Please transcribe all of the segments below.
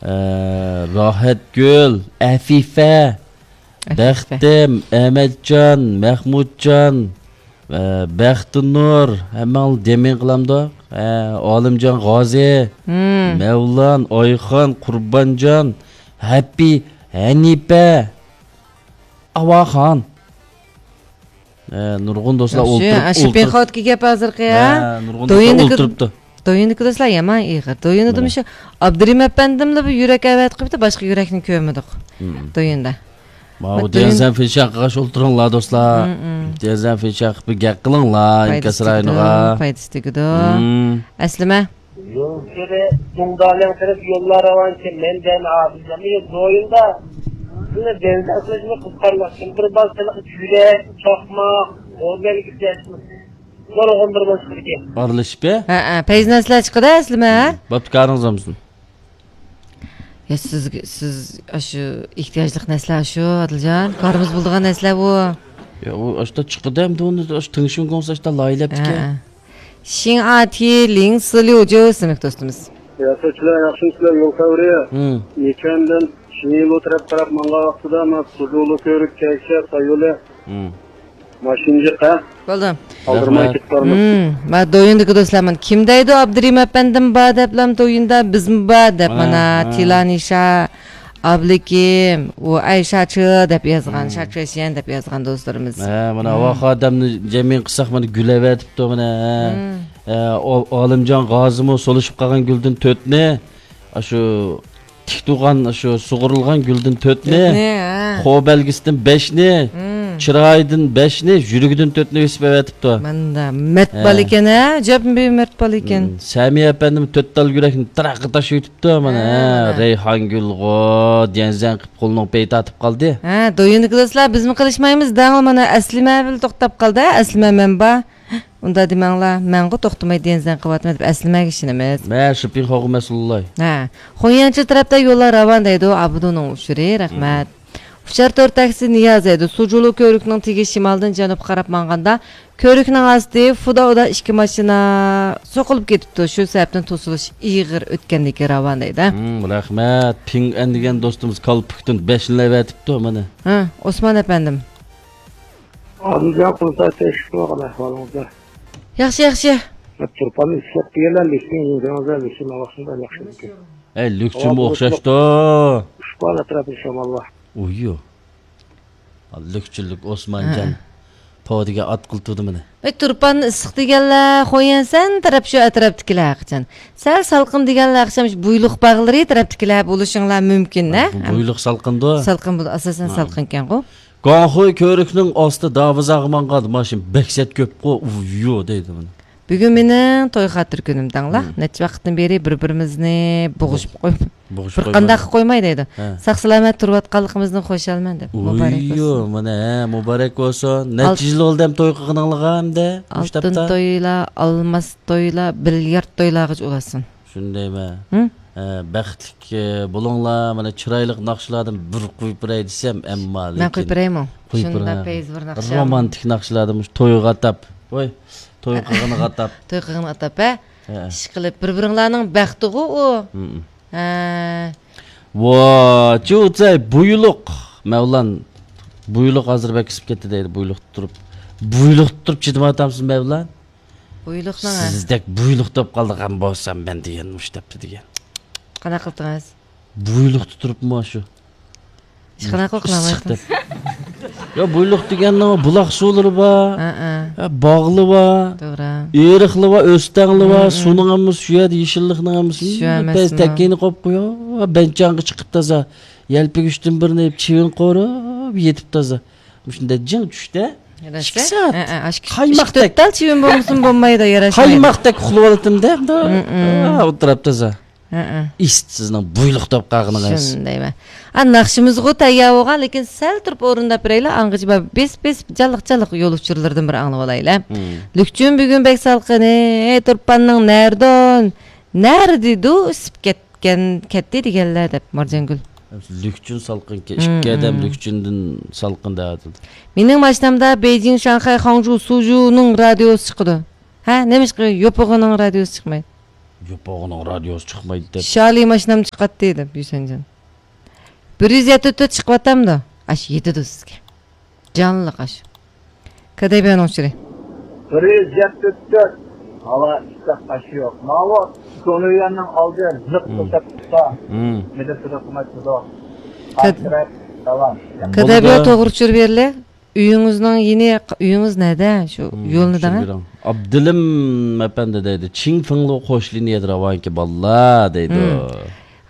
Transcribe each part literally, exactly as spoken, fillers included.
ئە، راھەتگۈل، ئەفىفە، ئەفىفە. بەختىم، ئەمەتجان، مەخمۇتجان، ئە، بەختىنۇر، ھەممەڭلار دېمىڭ قىلامدۇق. ئە، ئالىمجان غازى، مم. مەۋلان، ئايخان، قۇربانجان، ھەپپى، ھەنىپە، ئاۋاخان. ئە، نۇرغۇن دوستلار ياخشى، ئولتۇرۇپ، ئاشۇ ئولتۇرۇپ. پېخوتكا گەپ ھازىرقى، ھە؟ ھە، نۇرغۇن دوستلار دويۇندىكى، ئولتۇرۇپتۇ. دويۇندىكى دوستلار يامان ئېغىر. دويۇندىمۇ مانا. شۇ ئابدۇرېھىم ئەپەندىملا بىر يۈرەك ئەۋەتىپ قويۇپتۇ، باشقا يۈرەكنى كۆرمىدۇق. مم. دويۇندا. ماۋۇ بەت دويۇن- دېنزەن فېنشان قىلغاچ ئولتۇرۇڭلار، دوستلار. مم، مم. دېنزەن فېنشان قىلىپ بىر گەپ قىلىڭلار، پايدىسى ئىنكاس رايونىغا. تېگىدۇ، پايدىسى تېگىدۇ. مم. ئەسلىمە. يول سىرى دۇڭدالىڭ تەرەپ يوللار راۋانكەن، مەن دەل ئابىدەمنى يول دويۇندا. سىلە دېنزەن قىلىشنى قىزىقارلىق. كىم بىر بار سىلىقى جۈرەك، چاقماق، ئورگانىك ئىشلەشمىز. نۇرغۇن بىر بولۇشىدىكەن. ئارىلىشىپ، ھە؟ ھە، ھە، پەيز نەسلەر چىقىدۇ ئەسلىمە، ھە؟ بوپتۇ، كارىڭىز بولمىسۇن. يا سىز، سىز ئاشۇ ئېھتىياجلىق نەسلە ئاشۇ، ئادىلجان. كارىمىز بولىدىغان نەسلە بۇ. يا، ئۇ ئاشتا چىقىدۇ ئەمدى ئۇنى، ئاشۇ تىڭشىڭ گوڭسا ئاشتا لايىھەلەپتىكەن. ھە، ھە. شىڭ ئا تي لىڭ سى ليۇ جيۇ ئىسىملىك دوستىمىز. يا، سىلەر ياخشىمۇسىلەر، يول خەۋىرى؟ ھىم. يېكەندىن شىڭيىلۇ تەرەپ قاراپ ماڭغان ۋاقتىدا، ما، سۇجۇلۇ كۆۋرۈك كەيشە سايولى. ھىم. ماشىنىجىق، ھە؟ بولدى. ئالدىرىماي رەھمەت. كېتىپ بارمىز. ھىم، ما، دويۇندىكى دوستلار، مانا، كىم دەيدۇ، ئابدۇرېھىم ئەپەندىم بار دەپلا دويۇندا، بىزمۇ بار دەپ، مانا، مانا، ھە. تىلانىشا، ئابلىكىم، ئۇ ئەي شاچى دەپ يازغان، ھىم. شاچۈەشيەن دەپ يازغان دوستلىرىمىز. ھە، مانا، ھىم. ۋاخ ئادەمنى جەمئىي قىلساق، مانا، گۈلەۋەتىپتۇ، مانا، ھە. ھىم. ھە، ئو-، ئالىمجان غازىمۇ سولىشىپ قالغان گۈلدىن تۆتنى، ئاشۇ تىك تۇرغان شۇ سۇغۇرۇلغان گۈلدىن تۆتنى، تۆتنى، ھە. خو بەلگىسىدىن بەشنى، مم. چىرايىدىن بەشنى، يۈرىكىدىن تۆتنى بېسىپ ئەۋەتىپتۇ. مانا مەرد ھە. بالا ئىكەن، ھە، ئەجەب بىر مەرد بالا ئىكەن. مم. سەمىيە ئەپەندىم تۆت تال يۈرەكنى تىراققا تاشلىۋېتىپتۇ، مانا، ھە، ھە. مانا. رەيھانگۈلغۇ دېنزەن قىپ قولىنىڭ پېيى تارتىپ قالدى. ھە، دويۇندىكى دوستلار، بىزمۇ قىلىشمايمىز دەڭلا، مانا، ئەسلىمە بىلەن توختاپ قالدى، ھە، ئەسلىمە مەن بار. ئۇنداق دېمەڭلار، مەنغۇ توختىماي دېنزەن قىلىۋاتىمەن دەپ ئەسلىمەگە ئىشىنىمىز. مە شىپىڭ خوغۇ مەسئۇللاي. ھە. خۇييەنچى تەرەپتە يوللار راۋان دەيدۇ، ئابىدۇنىڭ ئۇچۇرى، رەھمەت. مم. ئۇچار تور تاكسى نىياز دەيدۇ، سۇجۇلۇ كۆۋرۈكنىڭ تېگى شىمالدىن جەنۇبقا قاراپ ماڭغاندا، كۆۋرۈكنىڭ ئاستى فۇدا ئۇدا ئىككى ماشىنا سوقۇلۇپ كېتىپتۇ، شۇ سەۋەبتىن توسۇلۇش ئېغىر ئۆتكەندىكى راۋان دەيدۇ. مم، رەھمەت. پىڭ ئەن دېگەن دوستىمىز كالپۇكتىن بەشنى ئەۋەتىپتۇ، مانا. ھە، ئوسمان ئەپەندىم. ئادىلجان قۇلسا تەشۋىق قىلغان ئەھۋالىڭىزدا. ياخشى، ياخشى. تۇرپاننى ئىسلەپ دېگەنلەر لېكسىن يېزىڭىزدا لېكسىن ئاۋاقسىندا ياخشى ئىكەن. ئەي، لۈكچىمۇ ئوخشاشتۇ. ئۈچ بال ئەتراپىدا شامال بار. ئۇيۇ. لۈكچۈنلۈك ئوسمانجان. ھە. پو دېگەن ئات قىلتۇردى مېنى. ئەي، تۇرپاننى ئىسسىق دېگەنلەر خويەنسەن تەرەپ شۇ ئەتراپتىكىلەر قاچان. سەل سالقىن دېگەنلەر ئاخشام شۇ بۇيلۇق باغلىرى تەرەپتىكىلەر بولۇشۇڭلار مۇمكىن، ھە؟ بۇ بۇيلۇق سالقىندۇ. سالقىن بولىدۇ، ئاساسەن ھە. سالقىنكەنغۇ. گۇاڭخۇي كۆۋرۈكنىڭ ئاستى داۋىزاغا ماڭغان ماشىنا بەك سەت كۆپقۇ، ئۇ، يو دەيدۇ مانا. بۈگۈن مېنىڭ توي خاتىرە كۈنۈم دەڭلا. مم. نەچچە ۋاقىتتىن بېرى بىر-بىرىمىزنى بوغۇشۇپ قويۇپ، بوغۇشۇپ بىر قانداق قويماي دەيدۇ. ھە. ساق سالامەت تۇرۇۋاتقانلىقىمىزدىن خۇشالمەن دەپ. مۇبارەك ئۇيۇ، بولسۇن. مانا، ھە، مۇبارەك بولسۇن. ئال- نەچچە يىل بولدى ھەم توي قىلغىنىڭلارغا ئەمدى؟ ئالتۇن تويلا، ئالماس تويلا، بىليارد تويلارغىچە ئۇلاشسۇن. شۇندايمۇ؟ ھە؟ ھە، بەختلىك، ئە، بولۇڭلار. مانا، چىرايلىق ناخشىلاردىن بىر قويۇپ بېرەي دېسەم، ئەمما مەن لېكىن قويۇپ بېرەيمۇ؟ قويۇپ شۇنداق بېرىڭ. پەيزى بىر ناخشا. رومانتىك ناخشىلاردىن مۇشۇ تويغا ئاتاپ. ۋاي، توي قىلغىنىغا ئاتاپ. توي قىلغىنىغا ئاتاپ، ھە؟ ھە. ئىشقىلىپ، بىر-بىرىڭلارنىڭ بەختىغۇ ئۇ. ھە. ھە. ۋا، جۇزەي، بۇيلۇق. مەۋلان، بۇيلۇق ھازىر بەك ئىسسىپ كەتتى دەيدۇ، بۇيلۇقتا تۇرۇپ. بۇيلۇقتا تۇرۇپ چىدىمايۋاتامسىز، مەۋلان؟ بۇيلۇقنىڭ، ھە. سىزدەك بۇيلۇق بولۇپ قالىدىغان بولسام مەن دېگەن مۇشۇ دەپتۇ دېگەن. قانداق قىلدىڭىز؟ بۇيلۇقتا تۇرۇپمۇ شۇ. ئىشقىلىپ قىلىپ قىلىپ قىلىۋاتىدۇ. يا، بۇيلۇق دېگەننىڭ بۇلاق سۇلىرى بار. ھە، ھە. يا، باغلى بار. توغرا. ئېرىقلى بار، ئۆستەڭلى بار. ھە، ھە. سۇنىڭ ھەممىسى شۇ يەردە، يېشىللىقنىڭ ھەممىسى. شۇ ئەمەسمۇ؟ پەس تەككىنى قويۇپ قويۇپ، بەنچاڭغا چىقىپ تازا. يەلپۈگۈچتىن بىرنى يەپ، چىۋىن قورۇپ يېتىپ تازا. مۇشۇنداق جىڭ چۈشتە. ياراشمايدۇ. ئىككى سائەت. ھە، ھە، ئاشۇ ئىككى، قايماقتەك. ئىككى تۆت تال چىۋىن بولمىسىمۇ بولمايدۇ، ياراشمايدۇ. قايماقتەك ئۇخلىۋالاتتىم دە، ھە، ھە. ئولتۇرۇپ تازا. ھە، ھە. ئىست سىزنىڭ بۇيلۇق توپ قاغىنىڭىز. شۇندايمەن. ھە، ناخشىمىزغۇ تەييار بولغان، لېكىن سەل تۇرۇپ ئورۇنداپ بېرەيلى، ئاڭغىچە بار بېسىپ بېسىپ جانلىق جانلىق يول ئۇچۇرلىرىدىن بىر ئاڭلىۋالايلى. ھىم. لۈكچۈن بۈگۈن بەك سالقىن، ئەي، تۇرپاننىڭ نەردىن، نەردىدۇ ئىسسىپ كەتكەن، كەتتى دېگەنلەر دەپ، مارجانگۈل. لۈكچۈن سالقىنكەن، ھىم، ئىككى ئادەم ھىم. لۈكچۈندىن سالقىن دەۋاتىدۇ. مېنىڭ ماشىنامدا بېيجىڭ، شاڭخەي، خاڭجۇ، سۇجۇنىڭ رادىيوسى چىقىدۇ. ھە، نېمىشقا يوپۇرغىنىڭ رادىيوسى چىقمايدۇ؟ يوپۇرغىنىڭ رادىيوسى چىقمايدۇ دەپ. شالى ماشىنام چىقاتتى دەپ، يۈسەنجان. بىر يۈز يەتتە تۆت چىقىۋاتامدۇ؟ ئاش يېتىدۇ سىزگە. جانلىق ئاش. كادەيبىيانىڭ ئۇچۇرى. بىر يۈز يەتتە تۆت. ھاۋا ئىسسىق، ئاش يوق. ماۋۇ سونۇيەننىڭ ئالدى لىق مم. توشاتقۇسا. مم. مىدىر تۇرۇپ قىممەت تۇرىدۇ. كاد-، داۋام. كادەيبىيان بولىدۇ. توغرا چۈشۈرۈپ بېرىلە. ئۆيىڭىزنىڭ يېنى، ئۆيىڭىز نەدە؟ شۇ مم، يولنى دەڭە. چۈشۈرۈپ بېرىڭ. ئابدۇلىم ئەپەندى دەيدۇ. چىڭفېڭلۇ قوش لىنىيەدە راۋانكى بالىلار دەيدۇ. مم.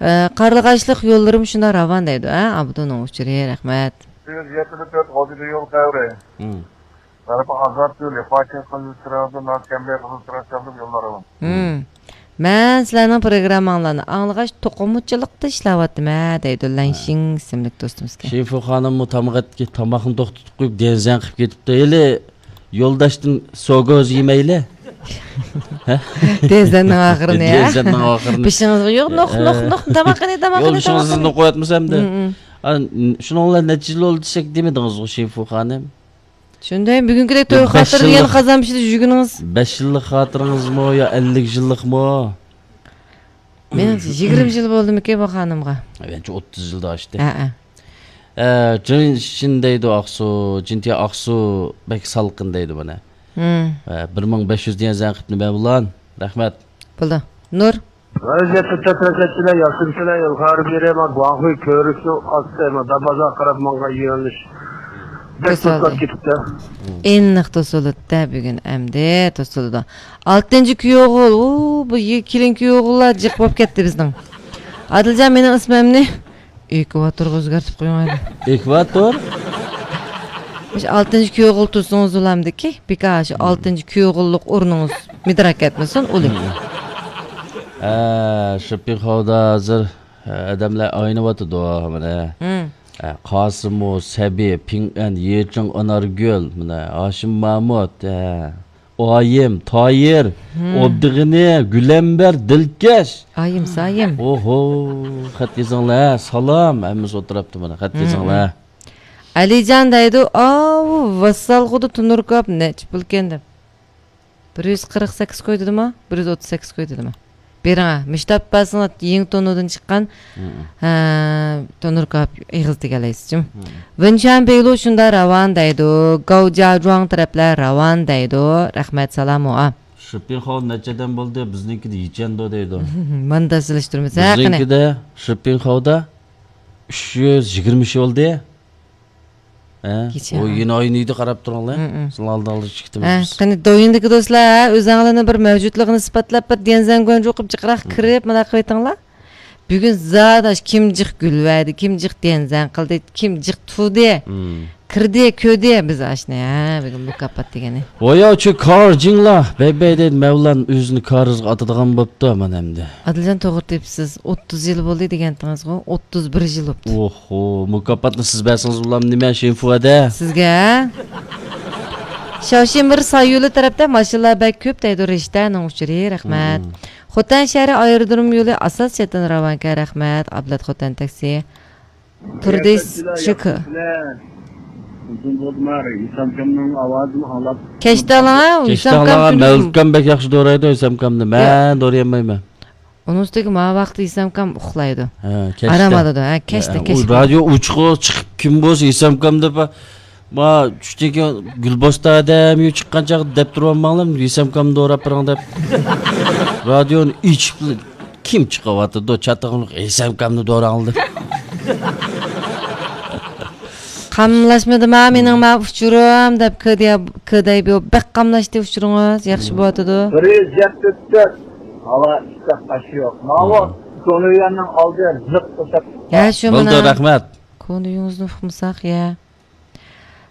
ئە، قارلىغاچلىق يوللىرىمۇ شۇنداق راۋان دەيدۇ، ھە؟ ئابدۇنىڭ ئۇچۇرى، رەھمەت. يۈز يەتتە تۆت غازىدە يول تەۋرى. مم. غەربىي ئازاد يولى، پاكىز قىزىل چىراغدىن، ناز كەمبەي قىزىل چىراغ چاقىرىپ يوللار راۋان. مم. مەن سىلەرنىڭ پروگرامماڭلارنى ئاڭلىغاچ، توقۇمىچىلىقتا ئىشلەۋاتىمەن، دەيدۇ لەنشىڭ ئىسىملىك دوستىمىزكەن. شىنفۇ خانىممۇ تاماق ئەتكى-، تاماقنى توختىتىپ قويۇپ، دېنزەن قىلىپ كېتىپتۇ. ھېلى يولداشتىن سوگوز يېمەيلى. ھە؟ دېنزەننىڭ ئاخىرىنى، ھە؟ دېنزەننىڭ ئاخىرىنى. بېشىڭىزغا يوق، نوق، نوق، نوق، تاماقىنى، تاماقىنى، يولدىشىڭىزنى تاماقىنى. قويۇۋەتمىسەمدە. مم، مم. ئا، شۇنىڭ بىلەن نەچچە يىل بولدى دېسەك دېمىدىڭىزغۇ، شىنفۇ خانىم؟ شۇنداق، بۈگۈنكىدەك بىر توي بەش خاتىرىدە يەنە يىللىق، قازان پىشىدى جۈگىنىڭىز. بەش يىللىق خاتىرىڭىزمۇ يا ئەللىك يىللىقمۇ؟ مېنىڭچە، يىگىرمە يىل بولدىمىكىن بۇ خانىمغا؟ مەنچە ئوتتۇز يىلدا ئاشتى. ھەئە. ئە، جىن شىن دەيدۇ ئاقسۇ، جىنتىيا ئاقسۇ بەك سالقىن دەيدۇ مانا. ھىم. ئە، بىر مىڭ بەش يۈز دېگەن زەنقىپنى مەن بۇلان. رەھمەت. بولدى. نۇر. ۋەزىيەتتە تەترەكەتچىلەر، ياخشىمسىلەر، يول خارىبىرى، ما گۇاڭخۇي كۆۋرۈكنىڭ ئاستى، ما دابازا قاراپ ماڭغان يۆنىلىش. بەك توسۇلدى. توسۇلۇپ كېتىپتۇ. ئېنىق توسۇلۇپتۇ بۈگۈن ئەمدى توسۇلىدۇ. ئالتىنچى كۈيئوغۇل، ئۇ، بۇ يى-، كېلىن كۈيئوغۇللار جىق بولۇپ كەتتى بىزنىڭ. ئادىلجان، مېنىڭ ئىسمىمنى ئېكۋاتورغا ئۆزگەرتىپ قويۇڭ ھەدە. ئېكۋاتور؟ مۇشۇ ئالتىنچى كۈيئوغۇل تۇرسىڭىز ئۇلامدىكى، بىكار شۇ ئالتىنچى كۈيئوغۇللۇق ئورنىڭىز مىدىراك كەتمىسۇن، ئۇلى. ھە، شىپپىڭخاۋدا ھازىر، ھە، ئادەملەر ئاينىۋاتىدۇ، مانا. ھە، قاسىمۇ، سەبى، پىڭئەن، يېچىڭ، ئانارگۈل، مانا، ھاشىم مامۇت، ھە. ئايىم، تايىر، ئوبدىغېنى، گۈلەمبەر، دىلكەش. ئايىم، سايىم. ئوھو، خەت يېزىڭلار، سالام، ھەممىسى ئولتۇراپتۇ مانا، خەت يېزىڭلار. ئەلىجان دەيدۇ، ئاۋۇ ۋاسسالغۇدا تونۇر كاۋاپ نەچچە پۇلكەن دەپ. بىر يۈز قىرىق سەككىز كوي دېدىما؟ بىر يۈز ئوتتۇز سەككىز كوي دېدىما؟ بېرىڭە، مۇشۇ تاپىپ بەرسىڭىز، يېڭى تونۇردىن چىققان، ھە، تونۇر كاۋاپ ئېغىز دېگەنلەيسىز جۇم. ۋېنچۈەن بېيلۇ شۇنداق راۋان دەيدۇ، گاۋ جياجۇاڭ تەرەپلەر راۋان دەيدۇ. رەھمەت، سالام، ھوئا. شىپپىڭخاۋ نەچچە ئادەم بولدى؟ بىزنىڭكىدە يىچەندو دەيدۇ. مانا سېلىشتۇرمىسا، قېنى. بىزنىڭكىدە شىپپىڭخاۋدا ئۈچ يۈز يىگىرمە ئىش بولدى. ھە؟ كېچە، ئۇ ھە. يېنى ئاينىيدۇ، قاراپ تۇرۇڭلار. ھە، ھە. سىلەرنىڭ ئالدىڭلاردا چىقتىمىز ھە، بىز. قېنى، دويىندىكى دوستلار، ھە، ئۆزەڭلارنى بىر مەۋجۇتلۇقىنى ئىسپاتلاپ، بىر ديەنزەنگۇەنجۇ قىلىپ جىقراق كىرىپ، مانا قىلىۋېتىڭلار. بۈگۈن زادى ئاش كىم جىق گۈل بەردى، كىم جىق ديەنزەن قىلدى، كىم جىق تۇدى. كىردى، كۆردى، بىز ئاشنى، ھە، بۈگۈن مۇكاپات دېگىنى. ۋاياۋچۇ كار جىڭلا، بەي بەي دەيدۇ، مەۋلان ئۆزىنى كارىزغا ئاتىدىغان بوپتۇ، مانا ئەمدى. ئادىلجان، توغرا تېپىپسىز، ئوتتۇز يىل بولدى دېگەنتىڭىزغۇ، ئوتتۇز بىر يىل بوپتۇ. ئوھو، مۇكاپاتنى سىز بەرسىڭىز بولامدۇ نېمە، شىنفۇەدە؟ سىزگە. شاۋشىمىر سايولى تەرەپتە ماشىنىلار بەك كۆپ دەيدۇ، رىشتەنىڭ ئۇچۇرى، رەھمەت. خوتەن شەھىرى ئايرودروم يولى ئاساس چەتتىن راۋانكەن، رەھمەت، ئابلەت خوتەن تاكسى. تۇردى شۇكۇر. كەچتە ئالاڭ، كەچتە ئالاڭ، مەۋلۇتكام بەك ياخشى دورايدۇ، ھېسامكامنى. مەن دورىيالمايمەن. ئۇنىڭ ئۈستىگە ما ۋاقىتتا ھېسامكام ئۇخلايدۇ. ھە، كەچتە. ئارام ئالىدۇ، ھە، كەچتە، ھە، كەچتە. رادىيو ئوچۇق چىقىپ كىم بولسا ھېسامكام دەپ، ما چۈشتىن كېيىن گۈلبوستان ئادەم يۇ چىققان چاغدا دەپ تۇرۇۋالماڭلار، ھېسامكامنى دوراپ بېرىڭ دەپ. رادىيونى ئېچىپ كىم چىقىۋاتىدۇ؟ چاتاقلىق ھېسامكامنى دوراڭلار دەپ. قاملاشمىدىما مېنىڭ ما ئۇچۇرۇم دەپ، كۆدەي-، كۆدەيبىيو بەك قاملاشتى ئۇچۇرىڭىز، ياخشى بولۇۋاتىدۇ. بىر يۈز يەتتە تۆت. ھاۋا ئىسسىق، ئاش يوق. ماۋۇ سونۇيەننىڭ ئالدى لىق توشاتقۇ. ھە، شۇ بولدى، مانا. رەھمەت. كونا ئۆيىڭىزنى ئۇقمىساق، يە.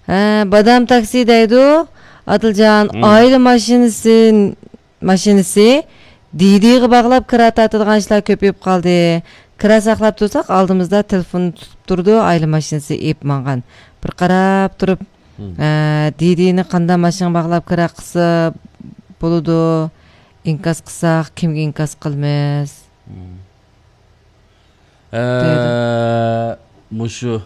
ھە، بادام تاكسى دەيدۇ. ئادىلجان، ئائىلە ماشىنىسى ماشىنىسى دىدىغا باغلاپ كىرا تارتىدىغان ئىشلار كۆپىيىپ قالدى. كىرا ساقلاپ تۇرساق، ئالدىمىزدا تېلېفون تۇتۇپ تۇرىدۇ، ئائىلە ماشىنىسى ئېلىپ ماڭغان. بىر قاراپ تۇرۇپ، ئە، دىدىنى قانداق ماشىنىغا باغلاپ كىرا قىلسا بولىدۇ؟ ئىنكاس قىلساق، كىمگە ئىنكاس قىلىمىز؟ ئە، مۇشۇ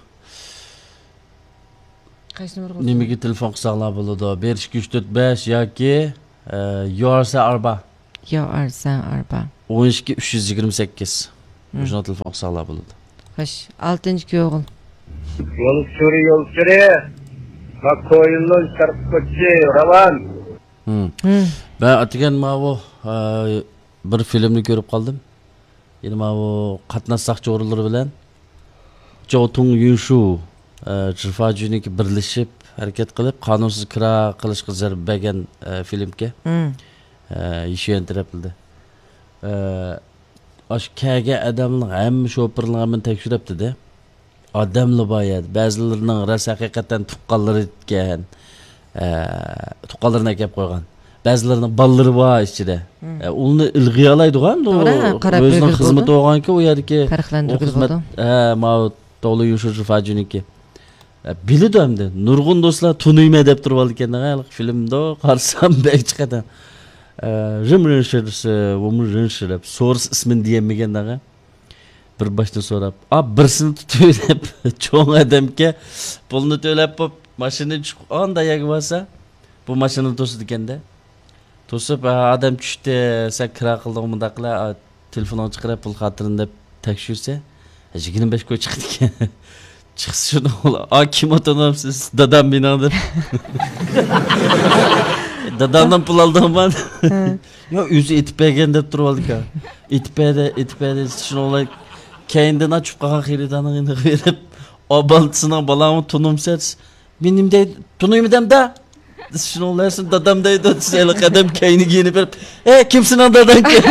قايسى نومۇرغا نېمىگە تېلېفون قىلساڭلار بولىدۇ؟ بىر ئىككى ئۈچ تۆت بەش ياكى، ئە، يۇ ئار سى ئاربا. يا ئارسەن ئاربا. ئون ئىككى، ئۈچ يۈز يىگىرمە سەككىز. مم. مۇشۇنىڭغا تېلېفون قىلساڭلار بولىدۇ. خوش، ئالتىنچى كۆڭۈل. يول ئۇچۇرى، يول ئۇچۇرى. ماكويلون شەرققە كۆچۈشى راۋان. مم. مم. مەن ئەتىگەن ماۋۇ، ئە، بىر فىلىمنى كۆرۈپ قالدىم. يەنە ماۋۇ قاتناش ساقچى ئورۇنلىرى بىلەن جاۋ تۇڭ يۈنشۇ، ئە، جىفا جۈنىكى بىرلىشىپ ھەرىكەت قىلىپ، قانۇنسىز كىرا قىلىشقا زەربە بەرگەن، ئە، فىلىمكەن. مم. ئە، يىشۈەن تەرەپلىدە. ئە، ئاشۇ كەلگەن ئادەمنىڭ ھەممە شوپۇرلىرىنىڭ ھەممىنى تەكشۈرۈپتىدە. ئادەملا بار يەردە. بەزىلىرىنىڭ راست ھەقىقەتەن تۇغقانلىرى ئىكەن. ئە، تۇغقانلىرىنى ئەكەپ قويغان. بەزىلىرىنىڭ بالىلىرى بار ئىچىدە. مم. ئە، ئۇلارنى ئىلغىيالايدىغان، ئۇ توغرا، قاراپ ئۆزىنىڭ بېرىدۇ خىزمىتى بولىدۇ. بولغانكى، ئۇ يەردىكى ئۇ پەرقلەندۈرگىلى خىزمەت، بولىدۇ. ھە، ماۋۇ توغلا يوشۇرجى فاجىنىكى. ئە، بىلىدۇ ئەمدى. نۇرغۇن دوستلار تونۇيمەن دەپ تۇرۇۋالىدىكەن، ھە، فىلىمدا قارىسام بەك چىقىدۇ. ئە، رىم رىنشىرسى، ۋۇم رىنشىر دەپ سورس ئىسمىنى دېيەلمىگەن، ھە. بىر باشتىن سوراپ، ئا، بىرسىنى تۇتۇۋېلىپ، چوڭ ئادەمكە پۇلنى تۆلەپ بوپ، ماشىنىدىن چۈشۈپ، ئانداق يەرگە بارسا، بۇ ماشىنىنى توسىدىكەن-دە. توسۇپ، ھە، ئادەم چۈشتى، سەن كىرا قىلدىڭ مۇنداق قىلە، ئا، تېلېفونۇڭنى چىقىرىپ، پۇل خاتىرىنى دەپ تەكشۈرسە، يىگىرمە بەش كوي چىقىدىكەن. چىقسا شۇنى ئۇلار، ئا، كىم ئاتىنىمسىز؟ دادام مېنىڭ دەپ. دادامدىن پۇل ئالدىڭما؟ ھە. يا، ئۆزى ئېتىپ بەرگەن دەپ تۇرۇۋالدىكەن. ئېتىپ بەردى، ئېتىپ بەردى، شۇنىڭ بىلەن كەينىدىن چۈشۈپ قالغان خېرىدارنىڭ يېنىغا بېرىپ، ئا، بالىسىنىڭ، بالاڭمۇ تونۇمسەن؟ مېنى نېمە دەيدۇ؟ تونۇيمۇ دەمدە؟ شۇنىڭ بىلەن دادام دەيدۇ، دېسە، ھېلىقى ئادەم كەينىگە يېنىپ بېرىپ، ئەي، كىم سېنىڭ داداڭكەن؟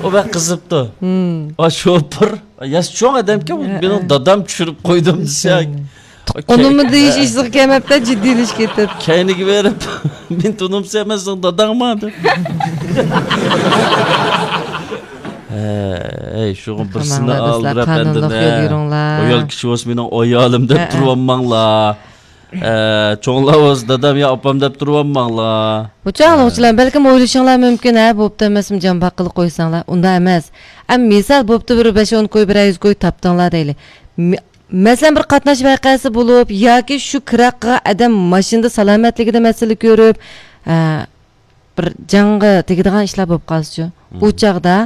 ئۇ بەك قىزىپتۇ. مم. ئا، شوپۇر، ياش چوڭ ئادەمكەن، ھە، مېنىڭ ھە. دادام چۈشۈرۈپ قويدۇم دېسە. تۇغقىنىممۇ دېيىش ئىشىغا كەلمەپتۇ، جىددىيلىشىپ كېتىپ. كەينىگە بېرىپ، مېنى تونۇمسەن، مەن سېنىڭ داداڭما دەپ. ھەي، شۇغا بىرسىنى ئالدىراپ ئەندىنە. قانۇنلۇق يول يۈرۈڭلار. ئايال كىشى بولسا مېنىڭ ئايالىم دەپ تۇرۇۋالماڭلار. ئە، چوڭلار بولسا دادام يا ئاپام دەپ تۇرۇۋالماڭلار. بۇ چاغلىغۇچىلار بەلكىم ئويلىشىڭلار مۇمكىن، ھە، بوپتۇ ئەمەسمۇ جان باققىلى قويساڭلار. ئۇنداق ئەمەس. ئەم، مىسال بوپتۇ بىر بەش ئون كوي، بىرەر يۈز كوي تاپتىڭلار دەيلى. مە-، مەسىلەن، بىر قاتناش ۋەقەسى بولۇپ ياكى شۇ كىرا قىلغان ئادەم ماشىنىدا سالامەتلىكىدە مەسىلە كۆرۈپ، ئە، بىر جانغا تېگىدىغان ئىشلار بولۇپ قالسىچۇ؟ مم. ئۇ چاغدا،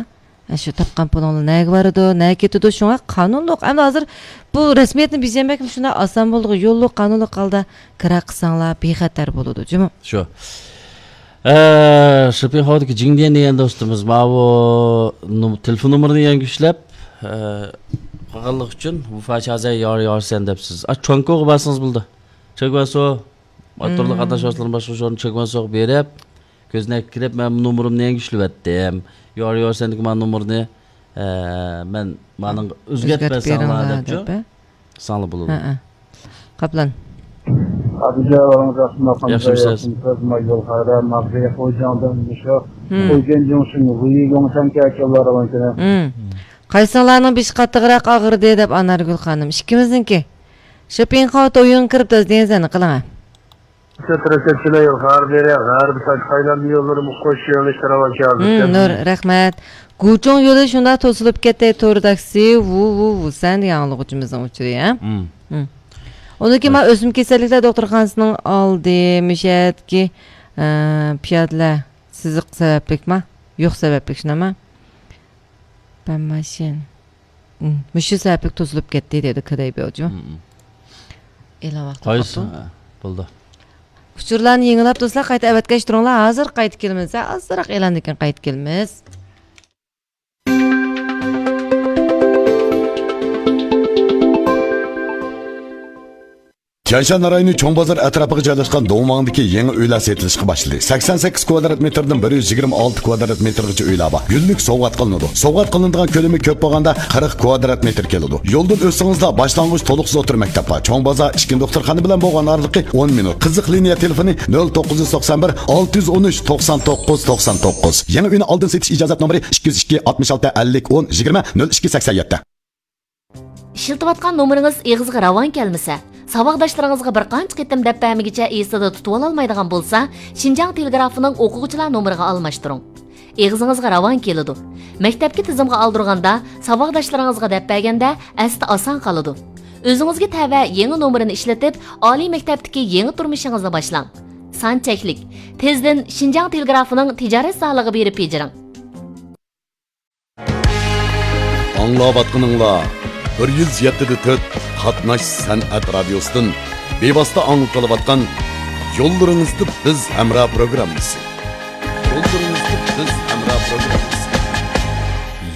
ئە، شۇ تاپقان پۇلۇڭلار نەگە بارىدۇ، نەگە كېتىدۇ؟ شۇڭا قانۇنلۇق. ئەمدى ھازىر بۇ رەسمىيەتنى بېجىرمەكمۇ شۇنداق ئاسان بولىدىغۇ، يوللۇق قانۇنلۇق ھالدا كىرا قىلساڭلار بىخەتەر بولىدۇ، جۇمۇ. شۇ. ئە، شىپىڭخاۋدىكى جىڭدىيەن دېگەن دوستىمىز، ماۋۇ نوم-، تېلېفون نومۇرىنى يەڭگۈشلەپ، ئە، قالغانلىقى ئۈچۈن ۋۇفا چازەي يار يارسەن دەپسىز. ئا، چۇەنكوغا بارسىڭىز بولىدۇ. چېگۋەسو، ماتورلۇق قاتناش ۋاسىتىلىرىنى باشقۇرۇش ئورنى چېگۋەسوغا بېرىپ، كۆزنەككە كىرىپ، مەن بۇ نومۇرۇمنى يەڭگۈشلىۋەتتىم. يار يارسەندىكى مانا نومۇرنى، ئە، مەن مانىڭ ئۆزگەرتىپ بەرسەڭلار دەپچۇ. قىلساڭلار بولىدۇ. ھەئە. قاپلان. ئابىجان، ياخشىمۇسىز؟ ياخشىمۇسىز؟ مايدۇل خەيرە، ماغزى خوجاڭدىن مۇشۇ. مم. خوجاڭ جۇڭشىن، ۋۇيى يۇڭشەن كەچەنلار ئاۋانكىنە. مم. قايسىڭلارنىڭ بېشى قاتتىقراق ئاغرىدى دەپ ئانارگۈل خانىم. ئىككىمىزنىڭكى. شىپىڭخاۋ تويۇڭ كىرىپ دەز دېگەن سەننى قىلىڭە. شۇ تەرەپكە چىلەي غەربىي، غەربىي تاج قاينام يوللىرىمۇ قوش يۆنىلىشتە راۋان كەلدى. مم، نۇر، رەھمەت. گۇچۇڭ يولى شۇنداق توسۇلۇپ كەتتى، تور تاكسى، ۋۇ، ۋۇ، ۋۇ، سەن دېگەن ئاڭلىغۇچىمىزنىڭ ئۇچۇرى، ھە؟ مم. مم. ئۇنىڭ كېيىن مانا ئۆسمە كېسەللىكلەر دوختۇرخانىسىنىڭ ئالدى، مۇشۇ يەردىكى، ئە، پىيادىلەر سىزىق سەۋەبلىكما؟ يوق سەۋەبلىك، شۇنداقما؟ بەن ماشىن. مم، مۇشۇ سەۋەبلىك توسۇلۇپ كەتتى، دېدى كېدەي بيوجۇ. مم. ئېلان ۋاقتى قاپتۇ. ھە، بولدى. ئۇچۇرلارنى يېڭىلاپ دوستلار، قايتا ئەۋەتكەچ تۇرۇڭلار، ھازىر قايتا كېلىمىز. ھە، ئازراق ئېلاندىن كېيىن قايتا كېلىمىز. تيەنشان رايونى چوڭ بازار ئەتراپىغا جايلاشقان دۇڭۋاڭدىكى يېڭى ئۆيلەر سېتىلىشقا باشلىدى. سەكسەن سەككىز كۋادرات مېتىردىن بىر يۈز يىگىرمە ئالتە كۋادرات مېتىرغىچە ئۆيلەر بار. گۈللۈك سوۋغات قىلىنىدۇ. سوۋغات قىلىنىدىغان كۆلىمى كۆپ بولغاندا قىرىق كۋادرات مېتىر كېلىدۇ. يولدىن ئۆتسىڭىزلا باشلانغۇچ تولۇقسىز ئوتتۇرا مەكتەپ بار. چوڭ بازار ئىچكى دوختۇرخانا بىلەن بولغان ئارىلىقى ئون مىنۇت. قىزىق لىنىيە تېلېفونى نۆل توققۇز يۈز توقسان بىر، ئالتە يۈز ئون ئۈچ، توقسان توققۇز، توقسان توققۇز. يېڭى ئۆينى ئالدىن سېتىش ئىجازەت نومۇرى ئىككى يۈز ئىككى، ئاتمىش ئالتە، ئەللىك، ئون، يىگىرمە، نۆل ئىككى، سەكسەن يەتتە. ئىشلىتىۋاتقان نومۇرىڭىز ئېغىزغا راۋان كەلمىسە، ساۋاقداشلىرىڭىزغا بىر قانچە قېتىم دەپ بەرمىگىچە ئېسىدە تۇتۇۋالالمايدىغان بولسا، شىنجاڭ تېلېگرافىنىڭ ئوقۇغۇچىلار نومۇرىغا ئالماشتۇرۇڭ. ئېغىزىڭىزغا راۋان كېلىدۇ. مەكتەپكە تىزىمغا ئالدۇرغاندا، ساۋاقداشلىرىڭىزغا دەپ بەرگەندە ئەستە ئاسان قالىدۇ. ئۆزىڭىزگە تەۋە يېڭى نومۇرىنى ئىشلىتىپ، ئالىي مەكتەپتىكى يېڭى تۇرمۇشىڭىزنى باشلاڭ. سان چەكلىك. تېزدىن شىنجاڭ تېلېگرافىنىڭ تىجارەت زالىغا بېرىپ بېجىرىڭ. ئاڭلاۋاتقىنىڭلار بىر يۈز يەتتە دە تۆت قاتناش سەنئەت رادىيوسىدىن بىۋاسىتە ئاڭلىتىلىۋاتقان يوللىرىڭىزدا بىز ھەمراھ پروگراممىسى. يوللىرىڭىزدا بىز ھەمراھ پروگراممىسى.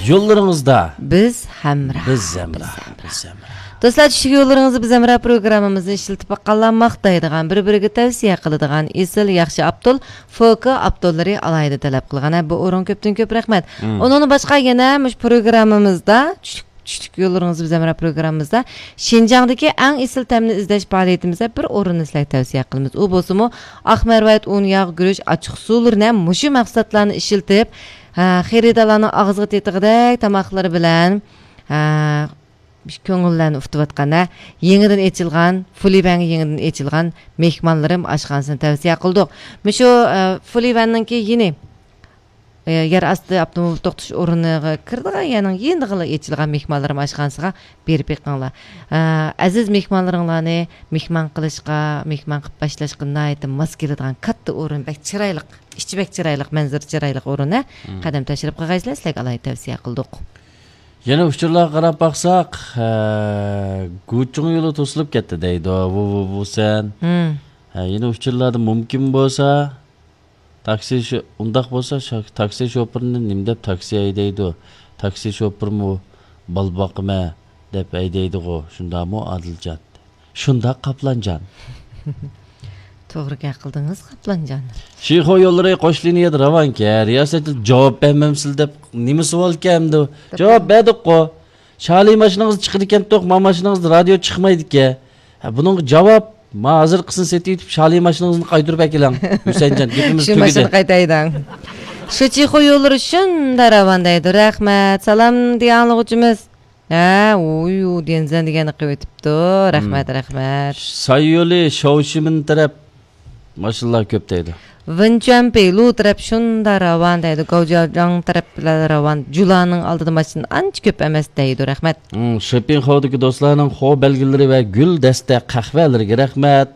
يوللىرىڭىزدا بىز ھەمراھ. بىز ھەمراھ. بىز ھەمراھ. بىز ھەمراھ. دوستلار، چۈشلۈك يوللىرىڭىزدا بىز ھەمراھ پروگراممىمىزنى ئىشلىتىپ باققانلار ماختايدىغان، بىر-بىرىگە تەۋسىيە قىلىدىغان ئېسىل ياخشى ئابدۇل، فوكا ئابدۇللىرى ئالاھىدە تەلەپ قىلغان. ھە، بۇ ئورۇن كۆپتىن كۆپ رەھمەت. مم. ئۇنىڭدىن باشقا يەنە مۇشۇ پروگراممىمىزدا، چۈشلۈك، چۈشلۈك يوللىرىڭىزدا بىز ھەمراھ پروگراممىمىزدا شىنجاڭدىكى ئەڭ ئېسىل تەمنى ئىزدەش پائالىيىتىمىزدە بىر ئورۇننى سىلەرگە تەۋسىيە قىلىمىز. ئۇ بولسىمۇ ئاق مەرۋايىت، ئۇن، ياغ، گۈرۈچ، ئاچچىق سۇلىرىنى ھەم مۇشۇ مەھسۇلاتلارنى ئىشلىتىپ، ھە، خېرىدارلارنىڭ ئاغزىغا تېتىغۇدەك تاماقلىرى بىلەن، ھە، كۆڭۈللەرنى ئۇتۇۋاتقان، ھە، يېڭىدىن ئېچىلغان، فۇلىۋەنگە يېڭىدىن ئېچىلغان مېھمانلىرىم ئاشخانىسىنى تەۋسىيە قىلدۇق. مۇشۇ، ئە، فۇلىۋەننىڭكى يېنى، ئە، يەر ئاستى ئاپتوموبىل توختىتىش ئورنىغا كىرىدىغان يەرنىڭ يېنىدىغىلا ئېچىلغان مېھمانلىرىم ئاشخانىسىغا بېرىپ بېقىڭلار. ئە، ئەزىز مېھمانلىرىڭلارنى مېھمان قىلىشقا، مېھمان قىلىپ باشلاشقا ناھايىتى ماس كېلىدىغان كاتتا ئورۇن، بەك چىرايلىق، ئىچى بەك چىرايلىق، مەنزىرە چىرايلىق ئورۇن، ھە. مم. قەدەم تەشرىپ قىلغايسىلەر، سىلەرگە ئالاھىدە تەۋسىيە قىلدۇق. يەنە ئۇچۇرلارغا قاراپ باقساق، ھە، گۇچۇڭ يولى توسۇلۇپ كەتتى دەيدۇ، ۋۇ، ۋۇ، ۋۇ سەن. مم. ھە، يەنە ئۇچۇرلاردا مۇمكىن بولسا، تاكسى شو-، ئۇنداق بولسا، شا-، تاكسى شوپۇرىنى نېمە دەپ تاكسى ھەيدەيدۇ؟ تاكسى شوپۇرىمۇ بالا باقىمەن دەپ ھەيدەيدىغۇ، شۇنداقمۇ ئادىلجان؟ شۇنداق، قاپلانجان. توغرا گەپ قىلدىڭىز، قاپلانجان. شىخۇ يوللىرى قوش لىنىيەدە راۋانكەن، رىياسەتچىلىك جاۋاب بەرمەمسىلەر دەپ نېمە سوئالكەن ئەمدى؟ جاۋاب بەردۇققۇ. شالى ماشىنىڭىز چىقىدىكەنتۇق، ما ماشىنىڭىزدا رادىيو چىقمايدىكەن. ھە، بۇنىڭغا جاۋاب، ما ھازىرقىسىنى سېتىۋېتىپ، شالى ماشىنىڭىزنى قايتۇرۇپ ئەكېلىڭ. ھۈسەنجان، گېپىمىز شۇ تۈگىدى. ماشىنا قايتايدىڭ. شۇ چىخۇ يوللىرى شۇنداق راۋان دەيدۇ. رەھمەت. سالام دېگەن ئاڭلىغۇچىمىز. ھە، ئۇيۇ، دېنزەن دېگەننى قىلىۋېتىپتۇ. رەھمەت، مم. رەھمەت. ساي يولى شاۋشىمىن تەرەپ ماشىنىلار كۆپ دەيدۇ. ۋېنچۈەن پېيلۇ تەرەپ شۇنداق راۋان دەيدۇ. گاۋجياجاڭ تەرەپ بىلەن راۋان. جۇلانىڭ ئالدىدا ماشىنا ئانچە كۆپ ئەمەس دەيدۇ. رەھمەت. مم، شېپىڭخاۋدىكى دوستلارنىڭ خو بەلگىلىرى ۋە گۈل دەستە قەھۋەلىرىگە رەھمەت.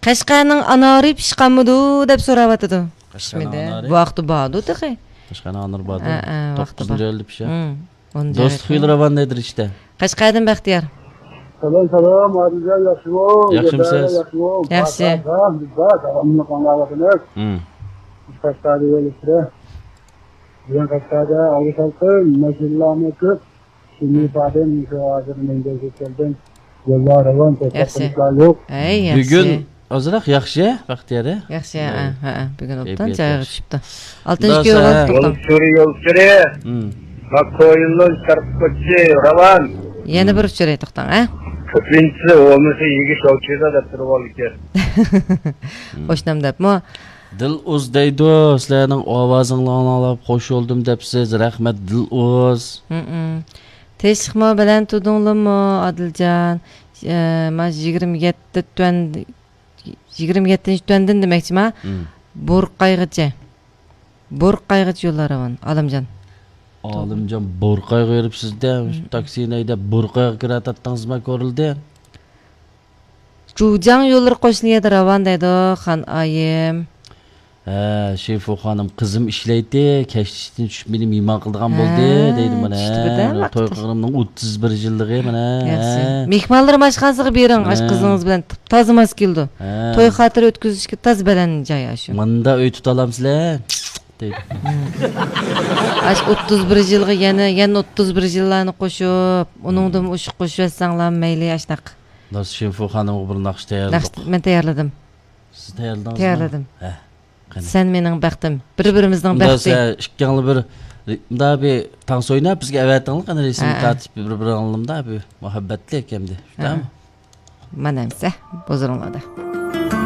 قەشقەرنىڭ ئانارى پىشقانمىدۇ دەپ سوراۋاتىدۇ. قەشقەرنىڭ پىشمىدى. ئانارى؟ بۇ ۋاقىتتا باردۇ تېخى. قەشقەرنىڭ ئانارى باردۇ. ھە، ھە، ۋاقتى بار. توققۇزىنچى ئايدا پىشە. مم، ئون دوستلۇق يىلى راۋان دەيدۇ رىشتە. قەشقەردىن بەختىيار. سالام، سالام، ئادىلجان، ياخشىمۇ؟ ياخشىمۇ سىز؟ ياخشىمۇ؟ ياخشى. بار، بار، بار، بار، داۋاملىق ئاڭلاۋاتىمىز. مم. بىز قەشقەردە يول ئۈستىدە. بۈگۈن قەشقەردە ئايرى سالقىن، ماشىنىلارمۇ كۆپ. شۇنى ئىپادىم، شۇ ھازىر مەن كەلدىم. يوللار راۋان، توختاپ ياخشى. قېلىشلار يوق. ئەي، ياخشى. بۈگۈن ئازراق ياخشى، بەختىيار. ياخشى، ھە، ھە، ھە، بۈگۈن ئوبدان كەيپىيات جايىغا ياخشى. چۈشۈپتۇ. ئالتىنچى كۆۋرۈك، يول توختاڭ. ئۇچۇرى، يول ئۇچۇرى. مم. ماكو يولنىڭ تەرەپكە رەۋان. يەنە بىر ئۇچۇرى، توختاڭ، ھە؟ كۆپىنچىسى بولمىسا يېگۈچ ئوچىدا دەپ تۇرۇۋالىدىكەن. قوشنام دەپمۇ؟ دىلئۇز دەيدۇ، سىلەرنىڭ ئاۋازىڭلارنى ئاڭلاپ خوش بولدۇم دەپسىز. رەھمەت، دىلئۇز. ھمم. تىنچلىقمۇ، بەلەن تۇردۇڭلارمۇ، ئادىلجان؟ ئە، مانا يىگىرمە يەتتە تۈەن، يىگىرمە يەتتىنچى تۈەندىن دېمەكچىما؟ ھمم. بورقايغىچە. بورقايغىچە يوللار راۋان، ئالىمجان. ئالىمجان، بورقايغا يۈرۈپسىز-دە، ھمم. تاكسىنى ھەيدەپ، بورقايغا كىرەتتىڭىزما، كورلىدى؟ جۇجاڭ يوللىرى قوشنا يەردە راۋان دەيدۇ، خان ئايىم. ھە، شىفۇ خانىم، قىزىم ئىشلەيتتى، كەچلىكتىن چۈشۈپ مېنى مېھمان قىلىدىغان بولدى، ھە، دەيدۇ مانا. چۈشتى بىردەم ھە، توي ۋاقىت. قىلغىنىمنىڭ ئوتتۇز بىرىنچى يىللىقى مانا. ياخشى. ھە. مېھمانلىرىم ئاشخانىسىغا بېرىڭ، ئاشۇ ھە. قىزىڭىز بىلەن تازا ماس كېلىدۇ. ھە. توي خاتىرە ئۆتكۈزۈشكە تازا بەلەن جاي ئاشۇ. ماندا ئۆي تۇتالامسىلەر؟ دەيدۇ. ئاشۇ ئوتتۇز بىر يىلغا يەنە، يەنە ئوتتۇز بىر يىللارنى قوشۇپ، ئۇنىڭدىن ئوشۇق قوشۇۋەتسەڭلار مەيلى، ئاشۇنداق. داس شىنفۇ خانىمغا بىر ناخشا تەييارلىدۇق. ناخشا مەن تەييارلىدىم. سىز تەييارلىدىڭىزمۇ؟ تەييارلىدىم. ھە، قېنى. سەن مېنىڭ بەختىم، بىر-بىرىمىزنىڭ بەختى. سىز ئىككىڭلار بىر، مۇنداق بىر تانسا ئويناپ، بىزگە ئەۋەتىڭلار، قېنى، رەسىم ھە، ھە. تارتىپ بىر-بىرىڭلاردا بىر مۇھەببەتلىك ئەمدى. ھە. شۇنداقمۇ؟ مانا ئەمسە، ھۇزۇرۇڭلاردا.